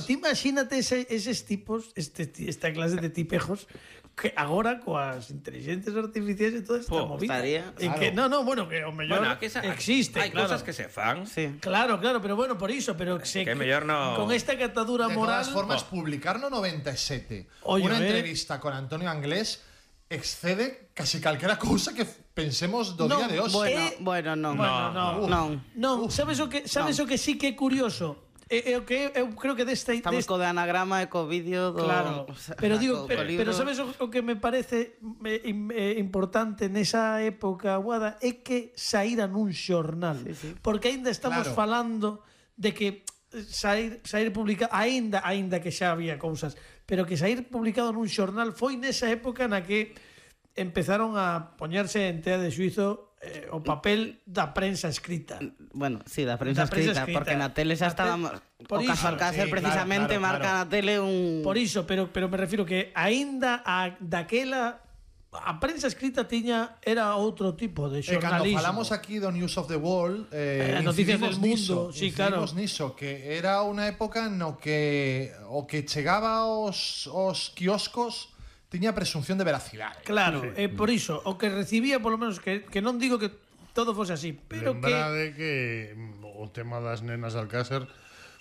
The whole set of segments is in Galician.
ti imagínate eses tipos, esta clase de tipejos que agora coas inteligencias artificiales e toda esta movida. Que bueno, que o mellor existe, hai cosas que se fan. Claro, pero bueno, por iso, pero que mellor no. Con esta catadura moral. De todas formas, publicar no 97 unha entrevista con Antonio Anglés excede casi calquera cousa que pensemos do día de hoxe. Bueno, non. Sabes o que sí que é curioso? Eu creo que estamos co de anagrama e co vídeo do... Claro, pero digo, pero sabes o que me parece importante nesa época aguada é que saíra nun xornal, porque aínda estamos falando de que sair publicado, aínda que xa había cousas, pero que sair publicado nun xornal foi nesa época na que empezaron a poñerse en tea de xuizo o papel da prensa escrita. Bueno, sí, da prensa escrita, porque na tele xa estábamos... O caso Alcácer precisamente marca na tele un... Por iso, pero me refiro que aínda daquela a prensa escrita era outro tipo de xornalismo. Cando falamos aquí do News of the World, noticias del mundo, incidimos niso, que era unha época no que o que chegaba aos quioscos tiña presunción de veracidade. Claro, por iso, o que recibía, polo menos, que non digo que todo fose así, pero lembrade que o tema das nenas Alcácer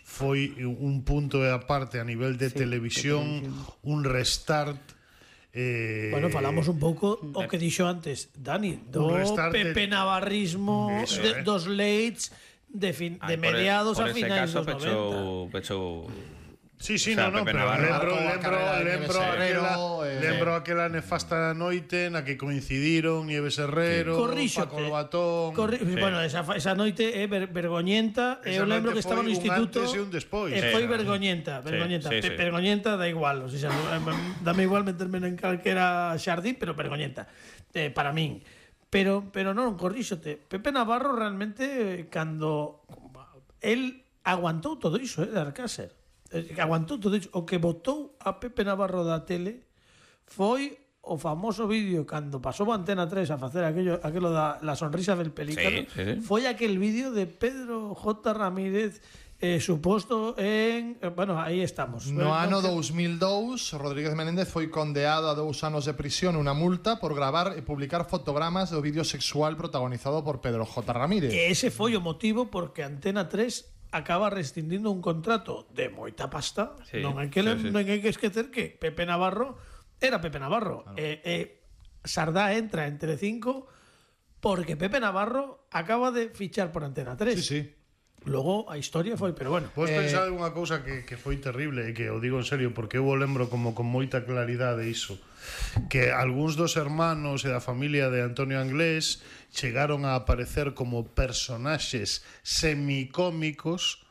foi un punto e aparte a nivel de televisión, un restart. Bueno, falamos un pouco o que dixo antes Dani, do Pepe Navarrismo, dos Leits de mediados a finais dos 90. Pechou Sí, no, pero lembro aquela nefasta noite na que coincidiron Nieves Herrero, Paco Lobatón. Bueno, esa noite é vergoñenta. Eu lembro que estaba no instituto e foi vergoñenta. Vergoñenta da igual, dame igual meterme en calquera xardín, pero vergoñenta para min. Pero non, corríxote, Pepe Navarro realmente cando el aguantou todo iso de Alcácer, aguantou todo iso. O que botou a Pepe Navarro da tele foi o famoso vídeo cando pasou a Antena 3 a facer aquilo da la sonrisa del pelícano. Foi aquel vídeo de Pedro J. Ramírez suposto en... Bueno, aí estamos. No ano 2002, Rodríguez Menéndez foi condeado a 2 anos de prisión e unha multa por gravar e publicar fotogramas do vídeo sexual protagonizado por Pedro J. Ramírez. Que ese foi o motivo porque Antena 3 acaba rescindindo un contrato de moita pasta. Non hai que esquecer que Pepe Navarro era Pepe Navarro. Sardá entra en Telecinco porque Pepe Navarro acaba de fichar por Antena 3. Sí. Logo a historia foi, pero bueno. Podes pensar unha cousa que foi terrible e que o digo en serio porque eu o lembro como con moita claridade iso, que algúns dos hermanos e da familia de Antonio Anglés chegaron a aparecer como personaxes semicómicos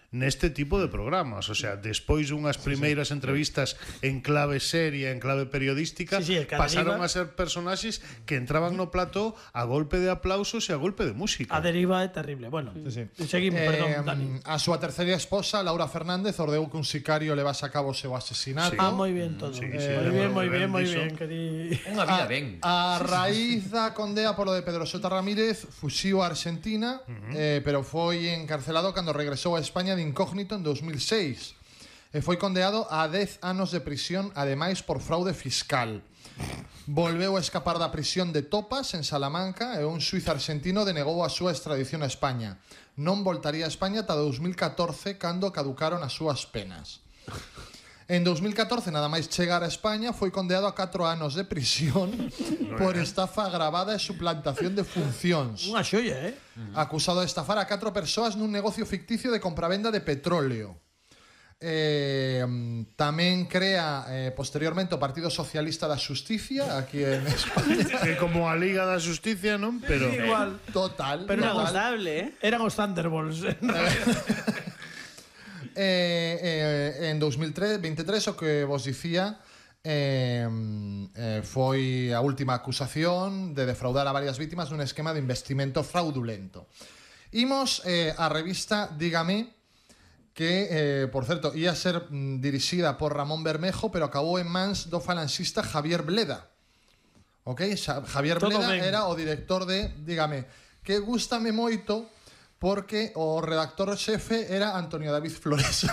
neste tipo de programas, o sea, despois dunhas primeiras entrevistas en clave seria, en clave periodística, pasaron a ser personaxes que entraban no plató a golpe de aplausos e a golpe de música. A deriva é terrible. Bueno, seguimos, perdón, Dani. A súa terceira esposa, Laura Fernández, ordeu que un sicario levase a cabo o seu asesinato. Moi bien todo. Moi bien. Unha vida ben. A raíz da condea polo de Pedro J. Ramírez, fuxiu a Argentina, pero foi encarcelado cando regresou a España de incógnito en 2006 e foi condeado a 10 anos de prisión, ademais por fraude fiscal. Volveu a escapar da prisión de Topas en Salamanca e un xuiz argentino denegou a súa extradición a España. Non voltaría a España ata 2014 cando caducaron as súas penas. En 2014, nada máis chegar a España, foi condeado a 4 anos de prisión por estafa agravada e suplantación de funcións. Unha xoia, Acusado de estafar a 4 persoas nun negocio ficticio de compravenda de petróleo. Tamén crea posteriormente o Partido Socialista da Xusticia aquí en España. Que como a Liga da Xusticia, non? Pero igual. Total. Pero notable, Eran os Thunderbolts. En 2023 o que vos dicía foi a última acusación de defraudar a varias vítimas nun esquema de investimento fraudulento. Imos a revista Dígame, que, por certo, ia ser dirixida por Ramón Bermejo, pero acabou en mans do falanxista Javier Bleda. Javier Bleda era o director de Dígame, que gústame moito porque o redactor xefe era Antonio David Flores.